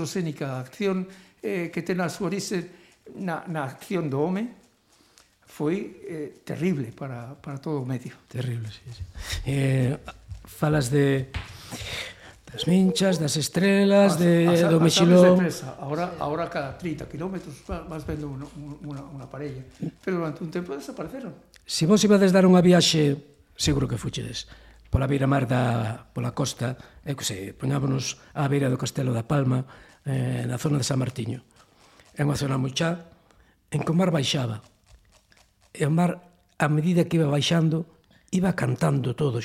androsénica, a acción que ten a súa orixe na acción do home, foi terrible para todo o medio. Terrible, sí. Falas das minchas, das estrelas, do mexilón. Ahora cada 30 kilómetros vas vendo unha parella, pero durante un tempo desapareceron. Se vos ibades dar unha viaxe, seguro que fuchedes, pola beira-mar pola costa, poñámonos á beira do Castelo da Palma, na zona de San Martiño. É unha zona moi chá, en que o mar baixaba. E o mar, a medida que iba baixando, iba cantando todo.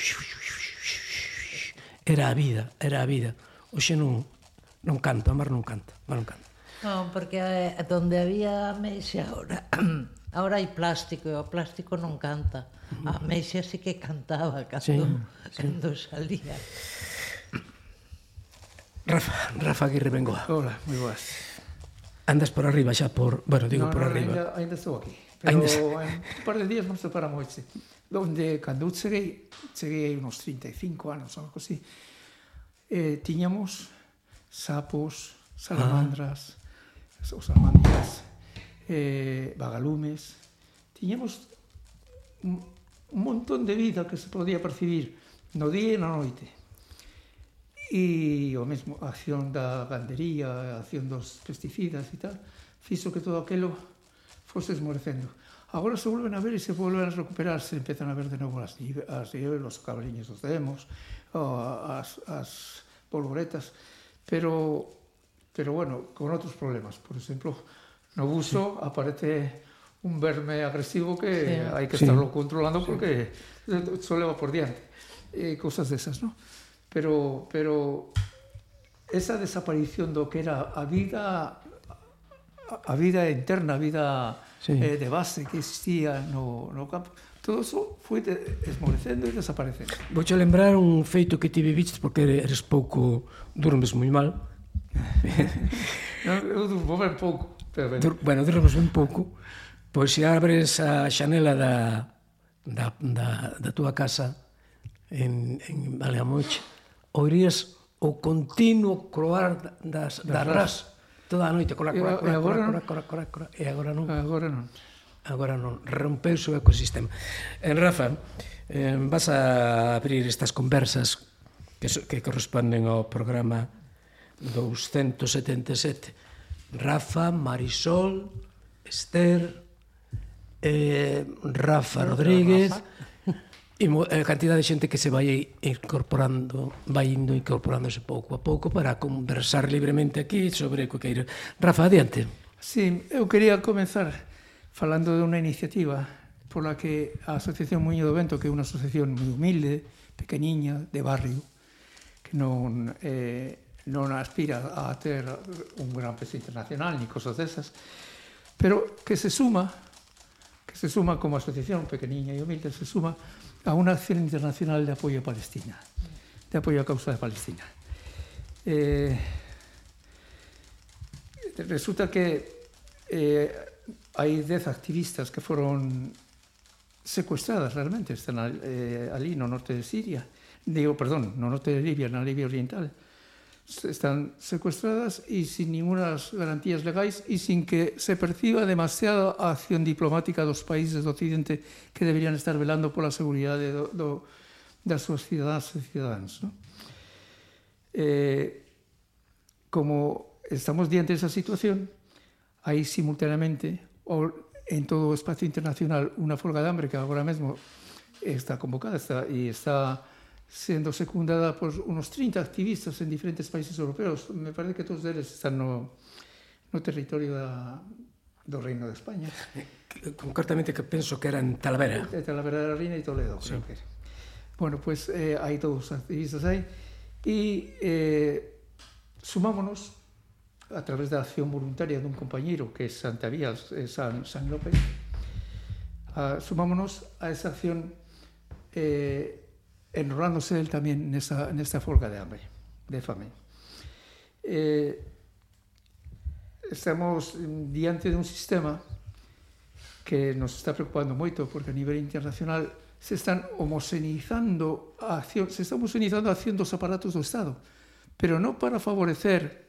Era a vida. Oxe non canta, o mar non canta. Non, porque donde había ameixa agora hai plástico, e o plástico non canta. A ameixa sí que cantaba cando salía. Rafa Aguirre Bengoa. Hola, moi boas. Andas por arriba xa por... Bueno, digo por arriba. Ainda estou aquí. Pero en un par de días nos separamos hoxe. Donde, cando cheguei unos 35 anos, algo así, tiñamos sapos, salamandras, osamandras, vagalumes, tiñamos un montón de vida que se podía percibir no día e na noite. E o mesmo, a acción da gandería, a acción dos pesticidas e tal, fixo que todo aquilo fose esmorecendo. Agora se volven a ver e se volven a recuperar, se empezan a ver de novo as nieves, os cabriños dos demos, as polvoretas, pero bueno, con outros problemas. Por exemplo, no buso aparece un verme agresivo que hai que estarlo controlando porque só leva por diante. Cousas desas, non? Pero esa desaparición do que era a vida interna, a vida de base que existía no campo, todo eso foi esmorecendo e desaparecendo. Vouche lembrar un feito que ti viviste, porque eres pouco, durmes moi mal. Eu durmo ben pouco. Bueno, durmes ben pouco. Pois se abres a xanela da túa casa en Valdeamoche, oirías o continuo croar das ras toda a noite. E agora non. Agora non. Rompeuse o ecosistema. Rafa, vas a abrir estas conversas que corresponden ao programa 277. Rafa, Marisol, Esther, Rafa Rodríguez e a cantidad de xente que se vai indo incorporándose pouco a pouco para conversar libremente aquí sobre o que queira. Rafa, adiante. Sí, eu quería comenzar falando de unha iniciativa pola que a Asociación Muiño do Vento, que é unha asociación moi humilde, pequeniña, de barrio, que non aspira a ter un gran peso internacional ni cosas desas, pero que se suma como asociación pequeniña e humilde, se suma a unha acción internacional de apoio a Palestina, de apoio á causa de Palestina. Resulta que hai 10 activistas que foron secuestradas realmente, están ali no norte de Siria, no norte de Libia, na Libia Oriental. Están secuestradas e sin ningunas garantías legais e sin que se perciba demasiada acción diplomática dos países do Occidente que deberían estar velando pola seguridade das súas cidadáns e cidadáns. Como estamos diante desa situación, hai simultaneamente en todo o espacio internacional unha folga de hambre que agora mesmo está convocada e está sendo secundada por unos 30 activistas en diferentes países europeos. Me parece que todos eles están no territorio do Reino de España. Concretamente que penso que era en Talavera. Talavera de la Reina e Toledo, creo que era. Bueno, pues hai todos os activistas aí e sumámonos a través da acción voluntaria dun compañeiro que é Santavías, San López, sumámonos a esa acción enrolándose él tamén nesta folga de hambre, de fame. Estamos diante de un sistema que nos está preocupando moito porque a nivel internacional se están homogeneizando a acción dos aparatos do Estado, pero non para favorecer